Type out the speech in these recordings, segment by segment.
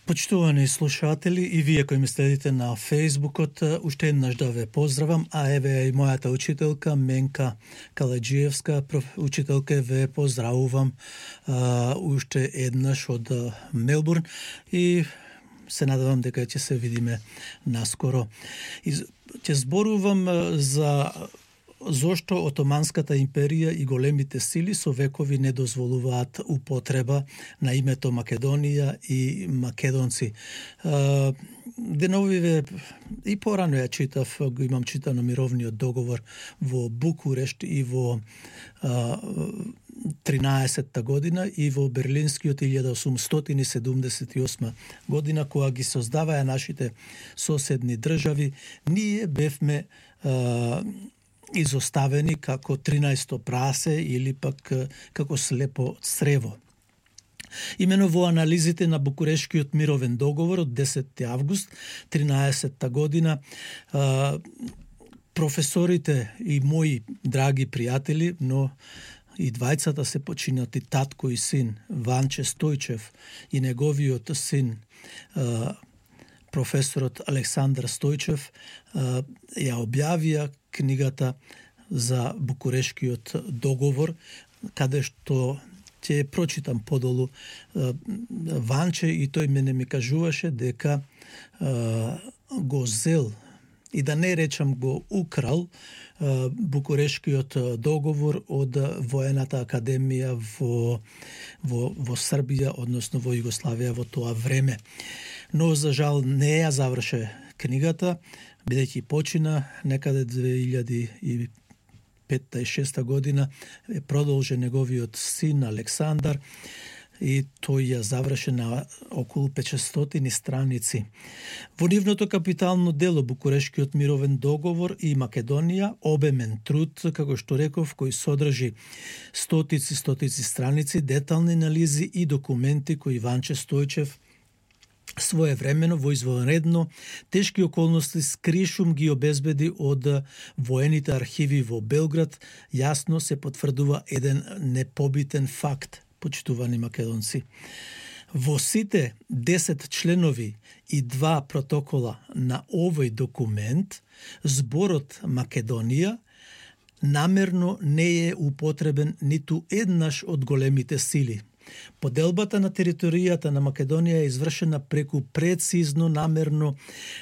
Почитувани слушатели и вие кои ме следите на Фејсбукот, уште еднаш да ве поздравам, а еве и мојата учителка Менка Каледжиевска, учителка, ве поздравувам уште еднаш од Мелбурн и се надевам дека ќе се видиме наскоро. И ќе зборувам за зошто Отоманската империја и големите сили со векови не дозволуваат употреба на името Македонија и македонци. Деновиве и порано ја читав, го имам читано мировниот договор во Букурешт и во 13-та година и во Берлинскиот 1878 година, кога ги создаваја нашите соседни држави, ние бевме изоставени како 13-то прасе или пак како слепо црево. Имено во анализите на Букурешкиот мировен договор од 10 август 13-та година, професорите и мои драги пријатели, но и двајцата се починати, татко и син, Ванче Стојчев и неговиот син, професорот Александар Стојчев, ја објавија книгата за Букурешкиот договор, каде што ќе прочитам подолу. Ванче и тој мене ми кажуваше дека го зел, и да не речам го украл, Букурешкиот договор од Воената академија во Србија, односно во Југославија во тоа време. Но за жал не ја заврше книгата, бидејќи почина некаде 2005-2006 година, продолжи неговиот син Александар и тој ја заврши на околу 500 страници. Во нивното капитално дело Букурешкиот мировен договор и Македонија, обемен труд, како што реков, кој содржи стотици страници, детални анализи и документи кои Ванче Стојчев своевремено во извонредно тешки околности скришум ги обезбеди од воените архиви во Белград, јасно се потврдува еден непобитен факт, почитувани македонци. Во сите 10 членови и 2 протокола на овој документ, зборот Македонија намерно не е употребен ниту еднаш од големите сили. Поделбата на територијата на Македонија е извршена преку прецизно намерно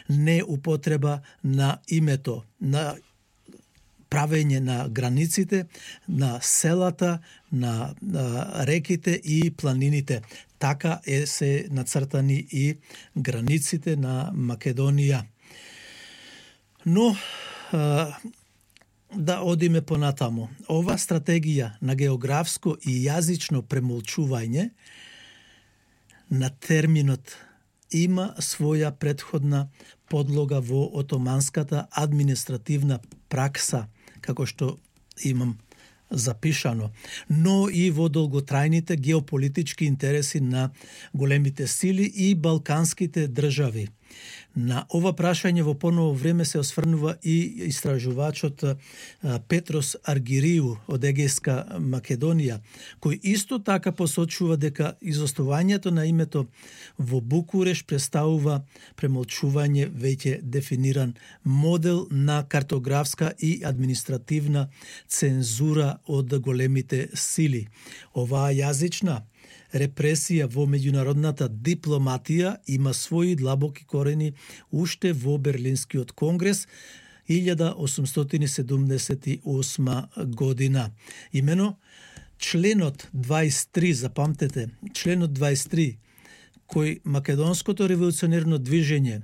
не употреба на името, на правење на границите, на селата, на реките и планините. Така се нацртани и границите на Македонија. Но да одиме понатаму. Ова стратегија на географско и јазично премолчување на терминот има своја претходна подлога во отоманската административна пракса, како што имам запишано, но и во долготрајните геополитички интереси на големите сили и балканските држави. На ова прашање во поново време се осврнува и истражувачот Петрос Аргириу од Егејска Македонија, кој исто така посочува дека изостувањето на името во Букуреш представува премолчување веќе дефиниран модел на картографска и административна цензура од големите сили. Оваа јазична репресија во меѓународната дипломатија има своји длабоки корени уште во Берлинскиот конгрес 1878 година. Имено членот 23, запамтете, членот 23, кој македонското револуционерно движење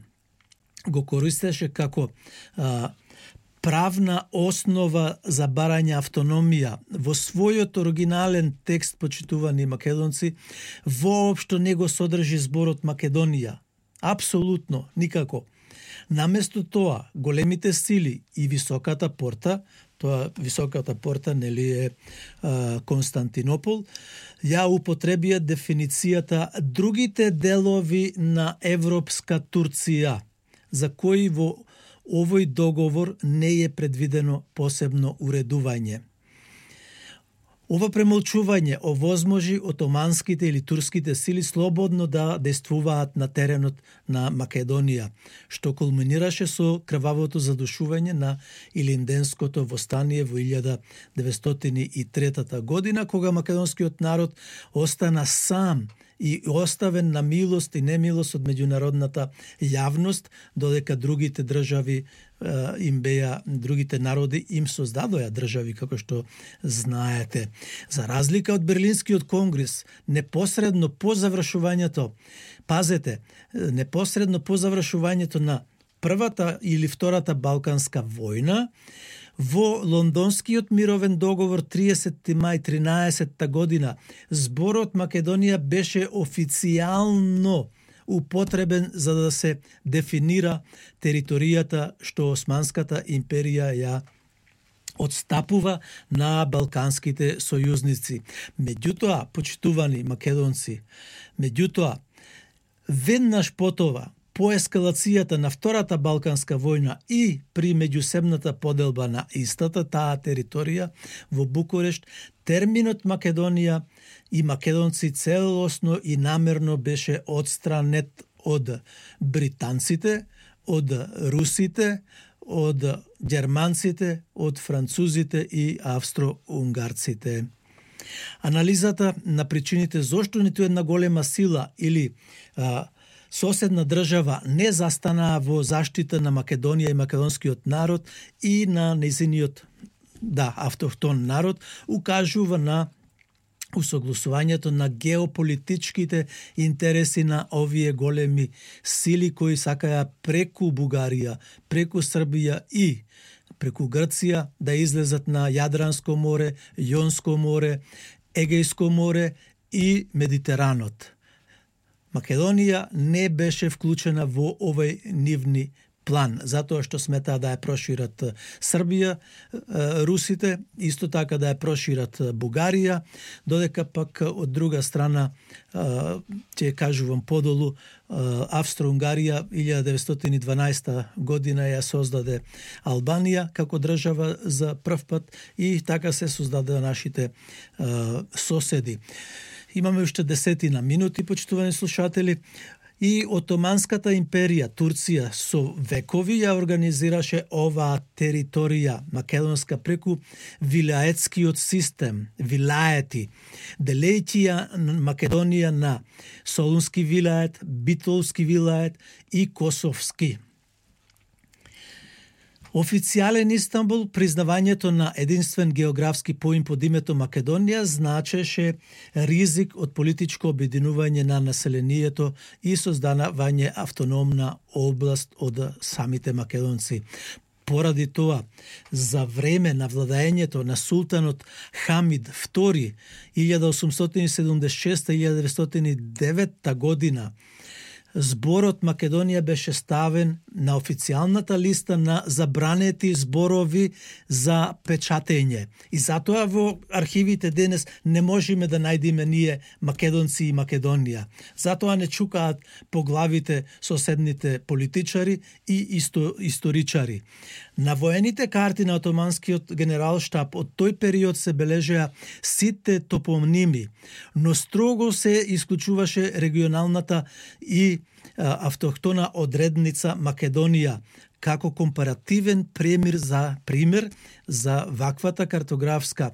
го користеше како правна основа за барање автономија, во својот оригинален текст, почитувани македонци, воопшто не го содржи зборот Македонија. Апсолутно, никако. Наместо тоа, големите сили и високата порта, тоа високата порта нели е Константинопол, ја употребија дефиницијата другите делови на европска Турција, за кои во овој договор не е предвидено посебно уредување. Ова премолчување овозможи отоманските или турските сили слободно да действуваат на теренот на Македонија, што кулминираше со крвавото задушување на Илинденското востание во 1903 година, кога македонскиот народ остана сам и оставен на милост и немилост од меѓународната јавност, додека другите држави другите народи им создадоа држави, како што знаете. За разлика од Берлинскиот конгрес, непосредно по завршувањето на првата или втората Балканска војна, во Лондонскиот мировен договор 30. мај 13. година, зборот Македонија беше официјално употребен за да се дефинира територијата што Османската империја ја отстапува на балканските сојузници. Меѓутоа, почитувани македонци, веднаш потова, по ескалацијата на Втората Балканска војна и при меѓусебната поделба на истата таа територија во Букурешт, терминот Македонија и македонци целосно и намерно беше отстранет од британците, од русите, од германците, од французите и австро-унгарците. Анализата на причините зошто ниту една голема сила или соседна држава не застанаа во заштита на Македонија и македонскиот народ и на нејзиниот автохтон народ, укажува на усогласувањето на геополитичките интереси на овие големи сили кои сакаја преку Бугарија, преку Србија и преку Грција да излезат на Јадранско море, Јонско море, Егејско море и Медитеранот. Македонија не беше вклучена во овој нивни план, затоа што сметаа да ја прошират Србија, русите, исто така да ја прошират Бугарија, додека пак од друга страна, ќе кажувам подолу, Австро-Унгарија 1912 година ја создаде Албанија како држава за прв пат и така се создадоа нашите соседи. Имаме уште 10 минути, почитувани слушатели. И Отоманската империја, Турција, со векови ја организираше оваа територија македонска преку вилаетскиот систем, вилаети, делејќи ја Македонија на Солунски вилает, Битолски вилает и Косовски. Официјален Истанбул, признавањето на единствен географски поим под името Македонија значеше ризик од политичко обединување на населението и создавање автономна област од самите македонци. Поради тоа, за време на владењето на султанот Хамид II 1876-1909 година, зборот Македонија беше ставен на официјалната листа на забранети зборови за печатење. И затоа во архивите денес не можеме да најдеме ние македонци и Македонија. Затоа не чукаат по главите соседните политичари и историчари. На воените карти на Отоманскиот генералштаб од тој период се бележеа сите топоними, но строго се исклучуваше регионалната и автохтона одредница Македонија како компаративен пример за ваквата картографска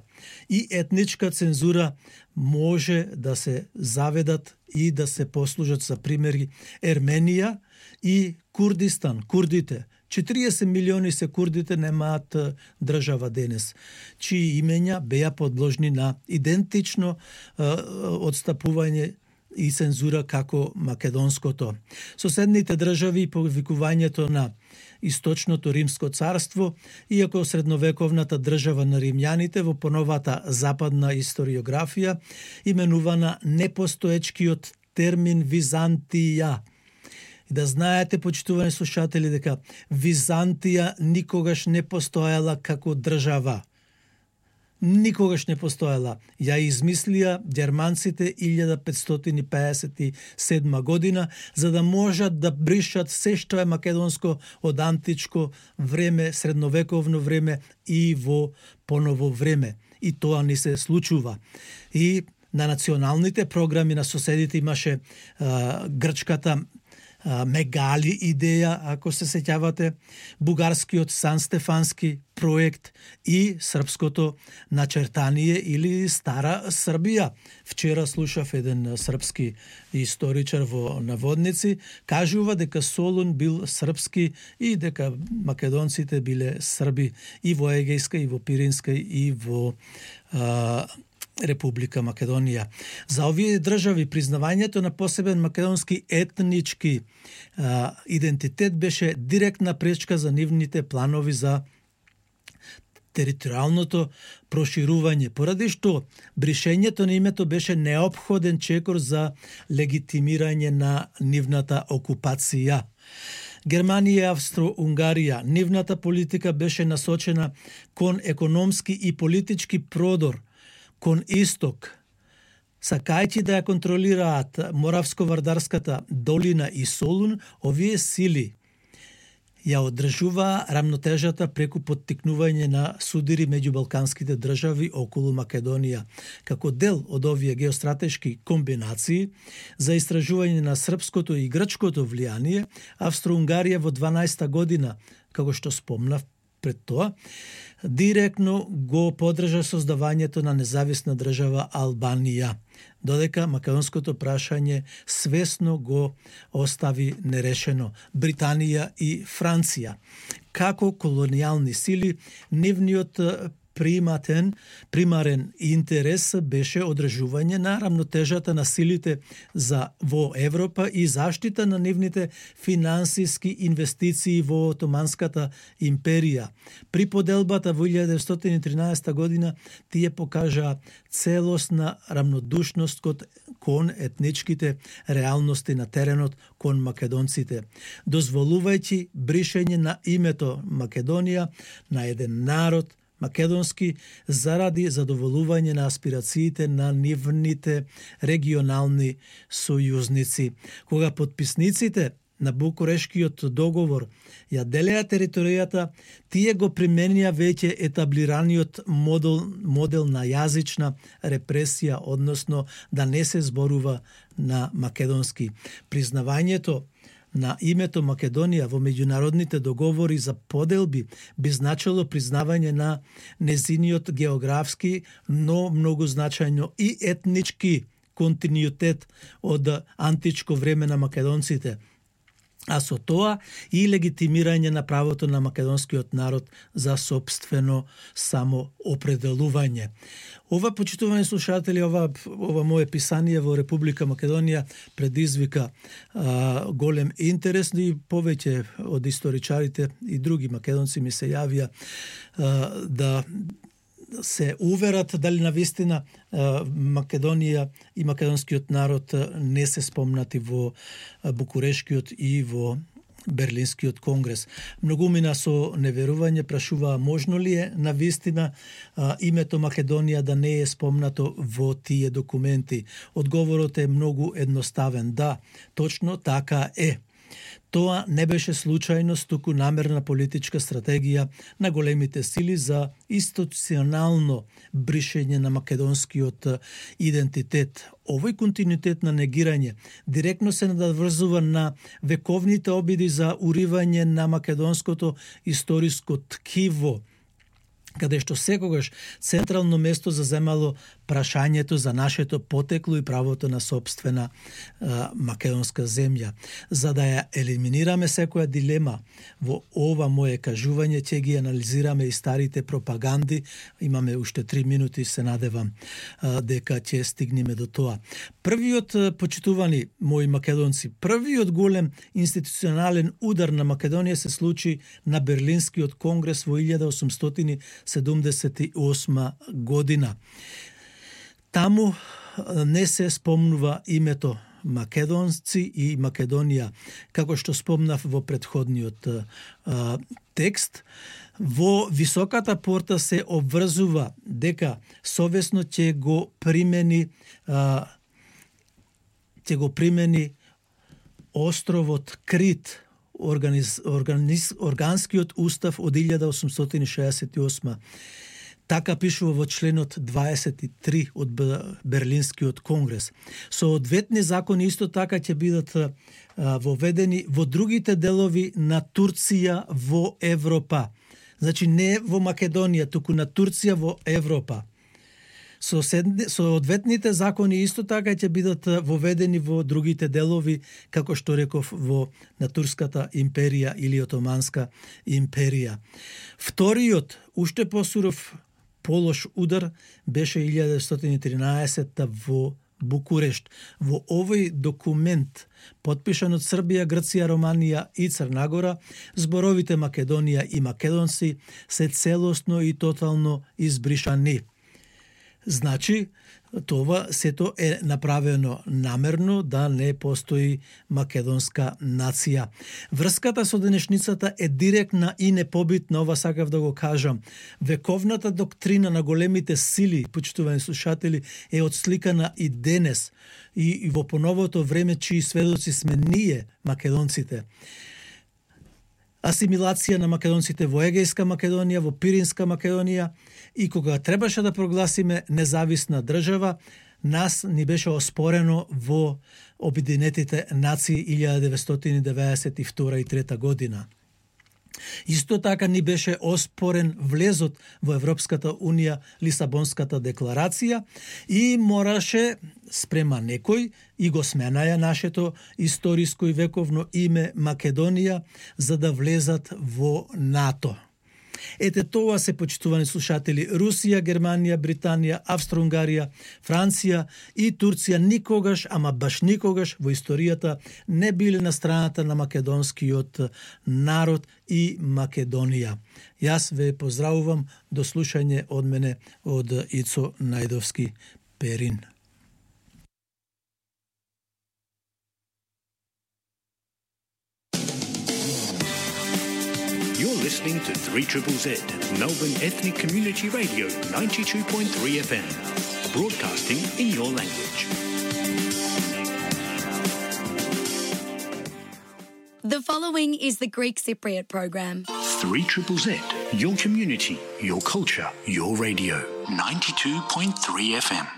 и етничка цензура може да се заведат и да се послужат за примери Ерменија и Курдистан, курдите. 40 милиони се курдите, немаат држава денес, чии имења беа подложни на идентично одстапување и цензура како македонското. Соседните држави и повикувањето на Источното Римско царство, иако средновековната држава на римјаните во поновата западна историографија, именувана непостоечкиот термин Византија. И да знаете, почитувани слушатели, дека Византија никогаш не постоела како држава. Никогаш не постоела. Ја измислија германците 1557 година, за да можат да бришат се што е македонско од античко време, средновековно време и во поново време. и тоа не се случува. И на националните програми на соседите имаше грчката Мегали идеја, ако се сеќавате, бугарскиот Сан Стефански проект и српското начертание или Стара Србија. Вчера слушав еден српски историчар во Наводници, кажува дека Солун бил српски и дека македонците биле срби и во Егејска, и во Пиринска, и во Република Македонија. За овие држави признавањето на посебен македонски етнички идентитет беше директна пречка за нивните планови за територијалното проширување, поради што бришењето на името беше неопходен чекор за легитимирање на нивната окупација. Германија и Австро-Унгарија, нивната политика беше насочена кон економски и политички продор кон исток, сакајќи да ја контролираат Моравско-Вардарската долина и Солун, овие сили ја одржува рамнотежата преку поттикнување на судири меѓу балканските држави околу Македонија. Како дел од овие геостратешки комбинации за истражување на српското и грчкото влијание, Австро-Унгарија во 12-та година, како што спомнав пред тоа, директно го поддржа создавањето на независна држава Албанија, додека македонското прашање свесно го остави нерешено Британија и Франција. Како колонијални сили, нивниот примарен интерес беше одржување на рамнотежата на силите во Европа и заштита на нивните финансиски инвестиции во Отоманската империја. При поделбата во 1913 година тие покажаа целосна рамнодушност кон етничките реалности на теренот кон македонците, дозволувајќи бришење на името Македонија на еден народ македонски заради задоволување на аспирациите на нивните регионални сојузници. Кога потписниците на Букурешкиот договор ја делеа територијата, тие го применија веќе етаблираниот модел на јазична репресија, односно да не се зборува на македонски. Признавањето на името Македонија во меѓународните договори за поделби би значило признавање на незиниот географски, но многу значајно и етнички континуитет од античко време на македонците, а со тоа и легитимирање на правото на македонскиот народ за собствено самоопределување. Ова, почитувани слушатели, ова мое писание во Република Македонија предизвика голем интерес и повеќе од историчарите и други македонци ми се јавија да се уверат дали навистина Македонија и македонскиот народ не се спомнати во Букурешкиот и во Берлинскиот конгрес. Многумина со неверување прашуваа можно ли е навистина името Македонија да не е спомнато во тие документи. Одговорот е многу едноставен. Да, точно така е. Тоа не беше случајност, туку намерна политичка стратегија на големите сили за институционално бришење на македонскиот идентитет. Овој континуитет на негирање директно се надврзува на вековните обиди за уривање на македонското историско ткиво, каде што секогаш централно место заземало прашањето за нашето потекло и правото на собствена македонска земја. За да ја елиминираме секоја дилема во ова мое кажување, ќе ги анализираме и старите пропаганди. Имаме уште 3 минути, се надевам дека ќе стигнеме до тоа. Првиот, почитувани мои македонци, првиот голем институционален удар на Македонија се случи на Берлинскиот конгрес во 1878 година. Таму не се спомнува името македонци и Македонија, како што спомнав во претходниот текст. Во високата порта се обврзува дека совесно ќе го примени островот Крит, органскиот устав од 1868. Така пишува во членот 23 од Берлинскиот конгрес. Соодветни закони исто така ќе бидат воведени во другите делови на Турција во Европа. Значи не во Македонија, туку на Турција во Европа. Соодветните закони исто така ќе бидат воведени во другите делови, како што реков, на Турската империја или Отоманска империја. Вториот, уште посуров полош удар беше 1913 во Букурешт. Во овој документ, потпишан од Србија, Грција, Романија и Црнагора, зборовите Македонија и македонци се целосно и тотално избришани. Значи, това сето е направено намерно да не постои македонска нација. Врската со денешницата е директна и непобитна, ова сакав да го кажам. Вековната доктрина на големите сили, почитувани слушатели, е отсликана и денес, и во поновото време, чии сведоци сме ние, македонците. Асимилација на македонците во Егејска Македонија, во Пиринска Македонија, и кога требаше да прогласиме независна држава, нас ни беше оспорено во Обединетите нации 1992 и 3 година. Исто така ни беше оспорен влезот во Европската Унија, Лисабонската декларација, и мораше спрема некој и го сменаја нашето историско и вековно име Македонија за да влезат во НАТО. Ете тоа се, почитувани слушатели, Русија, Германија, Британија, Австро-Унгарија, Франција и Турција никогаш, ама баш никогаш во историјата не биле на страната на македонскиот народ и Македонија. Јас ве поздравувам, до слушање од мене, од Ицо Најдовски Перин. You're listening to 3ZZZ, Melbourne Ethnic Community Radio 92.3 FM, broadcasting in your language. The following is the Greek Cypriot program. 3ZZZ, your community, your culture, your radio. 92.3 FM.